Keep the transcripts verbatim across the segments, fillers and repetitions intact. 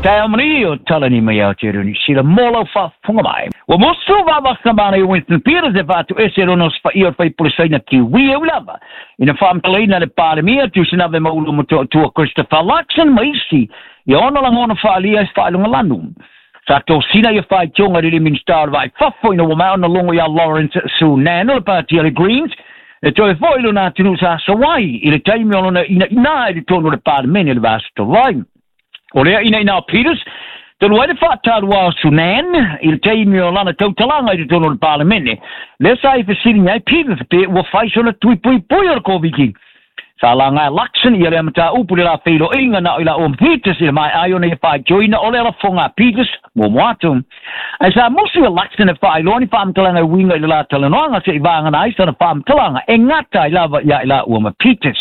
Tae mani o talani mai Aotearoa Niu Sila mo lau faafofoga mai. Ua musu vavasamana i Winston Peters e faatoese lona osofai'a o le faipule Kiwi e ui lava ina faamatalaina le Palemia Tusinave Maulu Motootua Christopher Luxon ma isi ia ona lagona faaalia i se faailogalanu. Sa tosina ia faitioga i le Minisita o le Vaifafo ina ua maea ona logo iā Lawrence Sunan o le Pati a le Greens e toe fo'i lona atunuu sa sauai i le taimi o lona inaina i totonu o le Palemene le vaiaso talu ai. O lea inaina o Peters, talu ai le faataluā o Sunan i le taimi o lana tautalaga i totonu o le Palemene. Lea sa i fesiligia ai Peters pe ua fai sona tui puipui o le Koviti. Sa laga e Luxon ia lea mataupu le la feiloaiga na o i laua ma Peters i le maea ai ona ia faitioina o le lafoga a Peters muamua atu. Ae sa musu ia Luxon e faailoa ni faamatalaga e uiga i le la talanoaga se'i vagana ai sana faamatalaga e gata ai lava ia i laua ma Peters.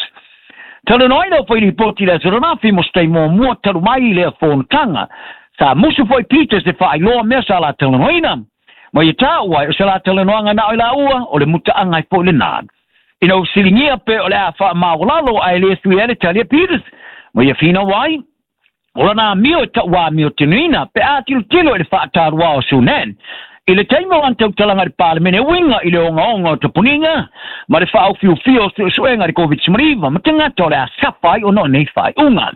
Talanoaina o failipoti i le aso ananafi mo se taimi muamua talu mai i lea fonotaga. Sa musu foi Peters e faailoa mea sa la talanoaina. Ma ia taua ai o se la talanoaga na o i laua o le mutaaga ai foi lenā. Ina ua fesiligia pe o le a faamaualalo ae le sui ai le tali a Peters. Ma ia finau ai, o lana amio e tauamio tenuina pe a tilotilo i le faataluā o Sunan. I le taimi o lana tautalaga i le Palemene e uiga i le ogaoga o tapuniga ma le faaofiofia o suesuega i le Covid nineteen ma tagata o le a safa ai ona o nei faaiuga.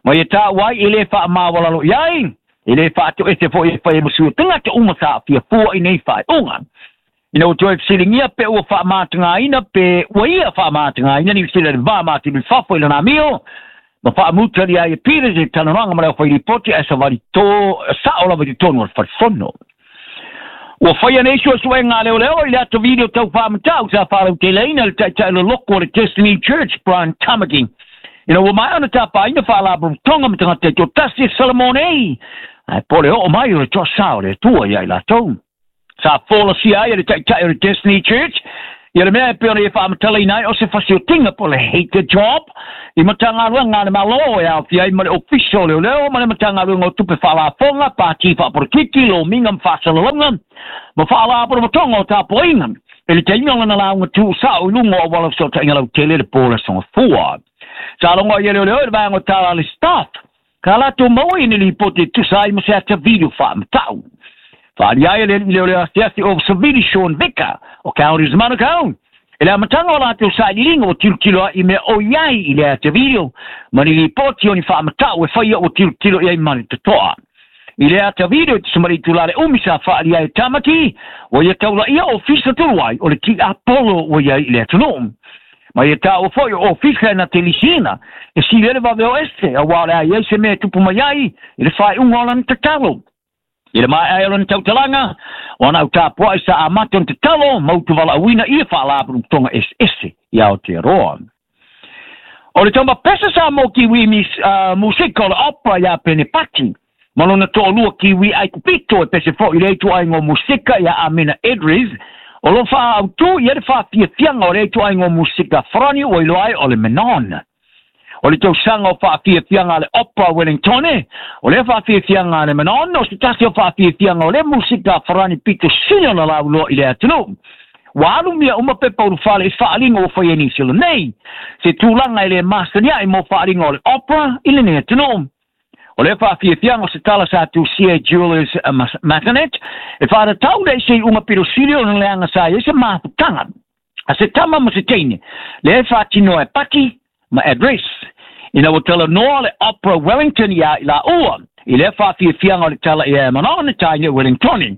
Ma ia taua ai e le faamaualalo i ai, e le faatoese foi e fai e masui o tagata uma sa aafia fua i nei faaiuga. Ina ua toe fesiligia pe ua faamatagaina pe ua ia faamatagaina Niu Sila i le va ma atunu i fafo i lona amio, ma faamutali ai e Peters i le talanoaga ma le aufailipoti ae savali tō sa'o lava i totonu o le falefono. Ua faia nei suesuega a leoleo i le ata video tau faamatau sa faalauteleina le taitai loloko o le Destiny Church Brian Tamaki. Ina ua maea ona tapaina faalapotopotoga ma tagata e toatasi e Salamo nei, ae po le oo mai o le toasā o le Atua ia i latou. Sa folasia ai e le taitai o le Destiny Church ia le mea e pei ona ia faamatalaina ai o se fasiotiga po o le hate job i Matagaluega a le Malo e aofia ai ma le Ofisa o Leoleo ma le Matagaluega o Tupe Faalafoga, Pati Faapolokiki, Lomiga ma Faasalalauga ma Faalapotopotoga o Tapuaiga i le taimi o lana lauga tuusa'o i luga o auala fesootaiga lautele le po o le Aso Gafua. Sa logo ai e leoleo i le vaega o tala a le staff ka latou maua i ni lipoti e tusa ai ma se ata video faamatau. Faaalia ai le alii leoleo asiasi o Savili Sean Vika o Counties Manukau. I le amataga o latou sailiiliga ua tilotilo ai i mea o i ai i le ata video ma ni lipoti o ni faamatau e faia ua tilotilo i ai ma le totoa. I le ata video i te samari itulā le umi sa faaalia ai e Tamaki, ua ia taulaia ofisa tolu ai o le tiapolo ua i ai i le atunuu. Ma ia taua foi o ofisa e na te lisiina e sili ai le vave o ese auā o le a i ai se mea e tupu mai ai i le faaiuga o lana tatalo. I le maea ai o lana tautalaga, o ana au tapua'i sa amata ona tatalo ma utuvala'auina ia faalapotopotoga eseese i Aotearoa. O le taumapesa sa mo Kiwi uh, musika o le opera iā Pene Pati, ma lona to'alua Kiwi Aikupito e pese fo'i le ituaiga o musika iā Amina Edris, o lo faautū i ai le faafiafiaga o le ituaiga o musika farani ua iloa ai o le Manon. O le tausaga o faafiafiaga a le Opera Wellingtone, o lea faafiafiaga a le Manon, o se tasi o faafiafiaga o le musika farani pito sili ona lauloa i le atunuu. Ua alu mea uma pepa ulufale i faaaliga ua faia Niu Sila nei, se tulaga e le masani ai mo faaaliga o le opera i lenei atunuu. O lea faafiafiaga o se tala sa tusia e Julius Massenet, e faatatau le i se iuga pito sili ona leaga sa i ai se mafutaga a se tama ma se teine, lea e faatinoa e Paki ma address. Ina ua talanoa le Opera Wellington ia i laua, i lea faafiafiaga o le tala ia e Manon e taina i Wellingtoni.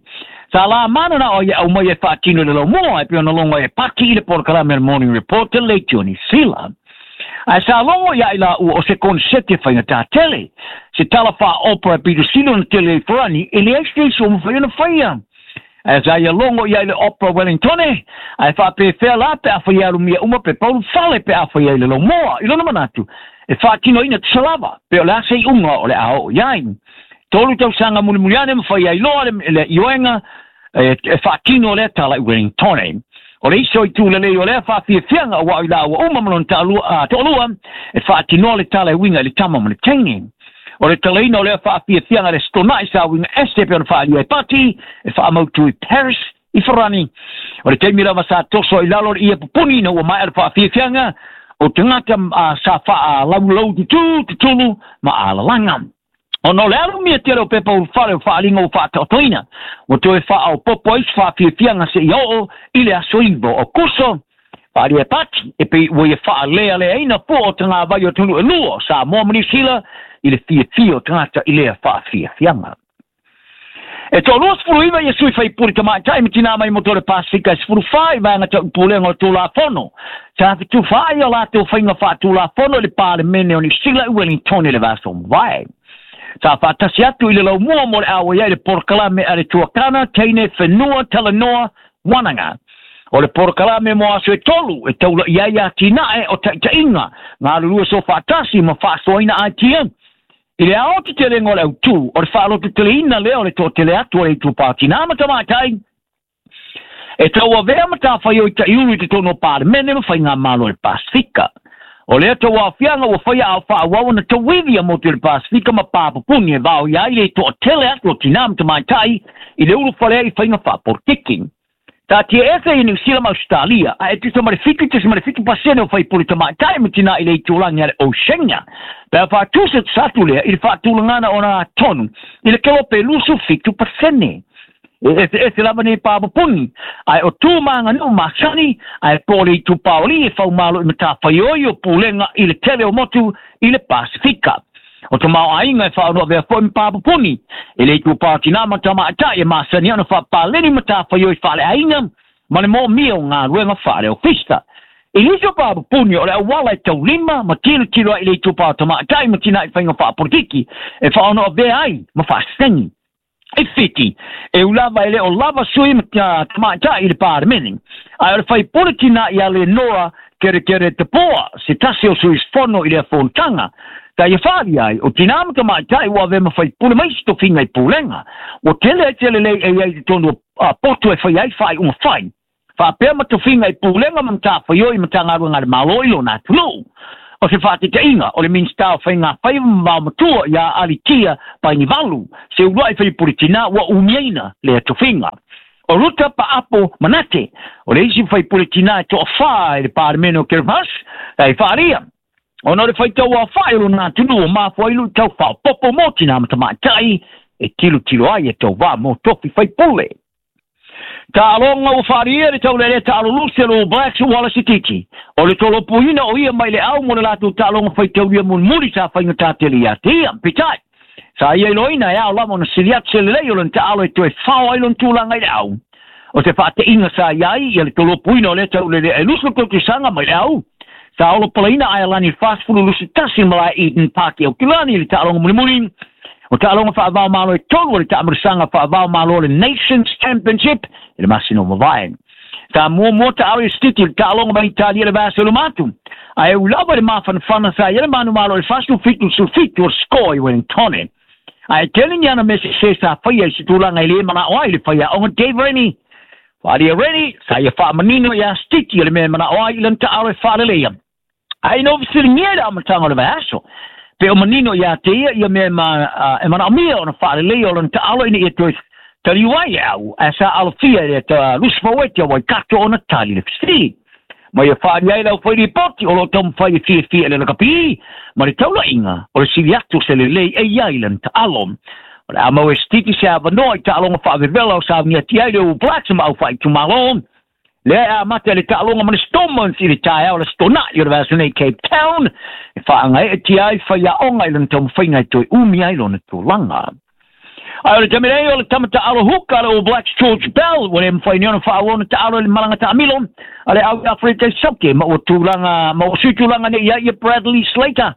Sa la mana na o ia au mai e faatino i le laumua e pei ona logo ai e Paki i le polokalame a le Morning Report le Leitioni Sila. Ae sa logo ia i laua o se konsete faigata tele. Se tala faa-opera e pito sili ona tele ai farani e leai se isi o mafai ona faia. Ae sa ia logo ia i le Opera Wellingtone, ae faapefea la pe a fai alumia uma pe paulu fale pe a fai ai le laumua. I lona manatu, e faatinoina tusa lava, pe o le a se iuga o le a oo i ai. Tolu tausaga mulimuli ane ma fai ai loa le, le ioega e, e faatino lea tala i Wellingtone. O le isi o itu lelei o lea faafiafiaga auā o i laua uma ma lona taalua, toalua e faatinoa le tala e uiga i le tama ma le teine. O le talaina o lea faafiafiaga le stona'i sa uiga ese pe ona faaalia e Pati e faamautu i Paris i Farani. O le taimi lava sa toso i lalo le ia pupuni ina ua maea le faafiafiaga o tagata uh, sa faalaulau tutū tutulu ma alalaga. Ona o le alu mia tele o pepa ulufale o faaaliga ua faataotoina ua toe faaopoopo ai se faafiafiaga seia oo i le aso iva o Akuso. Faalia e Pati e pei ua ia faalealeaina fua o tagavai o atunuu e lua o Samoa ma Niu Sila i le fiafia o tagata i lea faafiafiaga. E toalua sefulu iva ia sui faipule tamaitai ma tinā mai motu o le Pasifika e sefulu fa i vaega tau pulega o le Tulafono sa fetufaai o latou faiga faatulafono i le Palemene o Niu Sila i Wellington i le vaiaso mavae. Sa faatasi atu i le laumua mo le auai ai le polokalame a le tuakana teine whenua talanoa wanaga. O le polokalame mo aso e tolu e taula'i ai atinae o taitaiga galulue sofaatasi ma faasoaina aitia. I le aotetelega o le autū o le faalototeleina lea o le toatele atu o le itupa o tinā ma tamaitai e tauavea matafaioi ta'iulu i totonu o Palemene ma faigamalo o le Pasifika. O lea tauaofiaga ua faia a o faaauau ona tauivi a motu i le Pasifika ma papupuni e vaoia ai le toatele atu o tinā ma tamaitai i le ulufale ai i faiga faapolitiki. Taatiaese i Niu Sila ma Australia, ae tusa ma le fitu tesima le fitu pasene o faipule tamaitai ma tinā i le itulagi a le Oceania. Pe a faatusa atu lea i le faatulagana o na tonu i le kelope lusu fitu pasene. E eseese lava nei papupuni, ae o tu maganuu masani, ae po o le itupaoli e faumalo i matafaioi o pulega i le tele o motu i le Pasifika. O te maoaiga e faaonoavea fo'i ma papupuni e le itupa o tinā ma tamaitai e masani ona faapaleni matafaioi faaleaiga ma le moomia o galuega faaleofisa. I nisi o papupuni o le auala e taulima ma tilotilo ai i le itupa o tamaitai ma tinā i faiga faapolitiki e faaonoavea ai ma faasegi. E Fiti, e ulava e le o lava sui ma tamaitai i le Palemene. Ae o le faipule tinā ia Leonora Kerekere Tapoa, se tasi o sui usufono i lea fonotaga. Ta ia faalia ai, o tinā ma tamaitai ua avea ma faipule mai se tofiga i pulega. Ua tele ai te lelei e iai i totonu o poto e fai ai faaiuga fai. Faapea ma tofiga i pulega ma matafaioi Matagaluega a le Malo i lona atunuu. O se faataitaiga o le Minisita o Faiga Faiva ma Vaomatua ia Alitia Bainivalu, se uluai faipule tinā ua umiaina lea tofiga. O Ruta Paapo Manate, o le isi faipule tinā e toafā i le Palemene o Kiribati, e faalia. Ona o le faitau aofa'i o lona atunuu o mafua ai lu'itau faaopoopo mo tinā ma tamaitai e tilotilo ai e tauvā mo tofi faipule. Taaloga ua faalia le taulelea taalolusi a le All Blacks Wallace Sititi. O le tolopuina o ia mai le au mo le latou taaloga faitaulia mulimuli sa faigatā tele ia te ia. Peitai, sa ia iloaina e ao lava ona sili atu se lelei o lona taalo e toe fao ai lona tulaga i le au. O se faateiga sa iai ia le tolopuina o lea taulelea e lusu tautusaga mai le au. Sa olopalaina Aelani i le fasefulu lusi tasi i malae Eden Park i Aukilani i le taaloga mulimuli. O taaloga faavaomalo e tolu o le taamilisaga faavaomalo o le Nations Championship i le masina o mavae. Sa muamua taalo i Sititi i le taaloga mai Italia le vaiaso i luma atu. Ae ui lava i le mafanafana sa i ai le manumalo i le fasefulu fitu sefulu fitu o le score i Wellington. Ae tele ni ana mea sesē sa faia i se tulaga e lē manao ai le faiaoga Dave Rennie. Faalia Rennie sa ia faamanino iā Sititi o le mea e manao ai i lana taalo e faaleleia. Ae ina ua fesiligia i le amataga o le vaiaso, pe o manino ia te ia ia mea e manaomia ona faaleleia o lona taalo ina ia toe taliu ai le au, ae sa alofia e le Lusi Faueti a Waikato ona tali le fesili. Ma ia faalia ai le aufailipoti o loo taumafai e fiafia i le lakapi ma le taulaiga o le sili atu o se lelei e iai lana taalo. O le a mau e Sititi se avanoa i taaloga faavevela o sauniati ai le All Blacks ma aufaitumalo. Lea e amata le taaloga ma le Stormont i le taeao le stona'i o le vaiaso nei Cape Town e faagaeetia ai faiaoga i lona taumafaiga e toe umi ai lona tulaga. Ae o le taimi nei o le tama taalo huka a le All Blacks George Bell ua le mafai nei ona faaauau ona taalo i le malaga taamilo a le au i Aferika i Sauke ma ua tulaga ma ua sui tulaga nei ia ia Bradley Slater.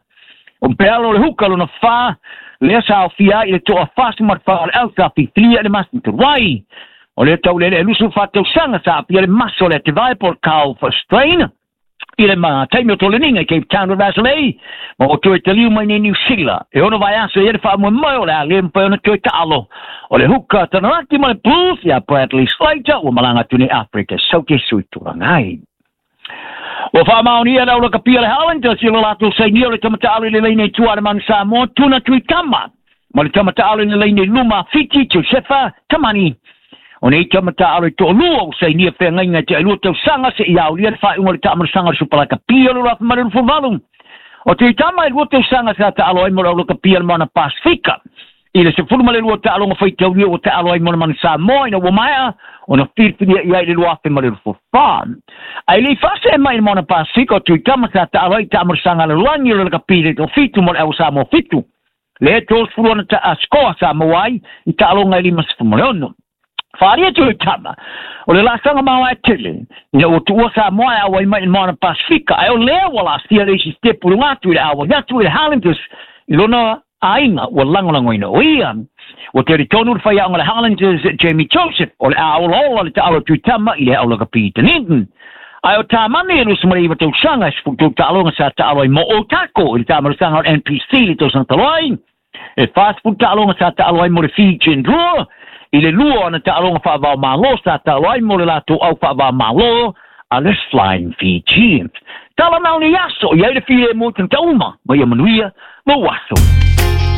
O Bell o le huka lona fa lea sa aofia ai i le toafasi ma le fa o le au sa fifilia i le masina talu ai. O le taulele e lusu faatausaga sa aafia le maso o le atevae po o le Carl Strain i le taimi o toleniga i Cape Town o le vaiaso nei ma ua toe taliu mai nei Niu Sila. E ono vaiaso i ai le faamoemoe o le a le mafai ona toe taalo. O le huka Tanaraki ma le Blues ia Bradley Slater ua malaga atu nei Afrika Sauke sui tulaga ai. Ua faamaonia le aulakapia le Highlanders i lo latou sainia o le tamataalo i le laina i tua a le Manu Samoa Tuna Tuitama ma le tamataalo i le laina i luma Fiti Josefa Tamani. O nei tamataalo e toalua ua sainia feagaiga i te ailua tausaga seia aulia le faaiuga o le taamilisaga o le Supalakapia o le luafa ma le luasefulu valu. O Tuitama e lua tausaga sa taalo ai mo le aulakapia le Moana Pasifika. I le sefulu ma le lua taaloga faitaulia ua taalo ai mo le manu Samoa ina ua maea ona filifilia i ai le lua afe ma le luafufa. Ae lei faasee mai i le Maona Pasefika o Tuitama sa taalo ai taamalosaga a le lalolagi o le lakapi le toafitu mo le au Samoa fitu. Le tolusefulu ona ta sikoa sa maua ai i taaloga e limasefulu ma le ono. Faalia Tuitama o le laasaga maoae tele ina ua tuua Samoa e auai mai i le Moana Pasefika, ae o lea ua laasia le isi sitepu i luga atu i le auai atu i le Highlanders i lona aiga ua lagolagoina o ia. Ua talitonu le faiaoga le Highlanders Jamie Joseph o le a olaola le taalo Tuitama i le au lakapi i Dunedin. Ae o Tamani e lusa ma le iwa tausaga e sefulu tolu taaloga sa taalo ai mo Otago i le taamalosaga o le N P C i le tausaga talu ai. E fasefulu taaloga sa taalo ai mo le Fijian Drua i le lua ona taaloga faavaomalo sa taalo ai mo le latou au faavaomalo a le Flying Fijians. Tala mau ni aso, i ai le filemu i tagata uma, ma ia manuia lou aso.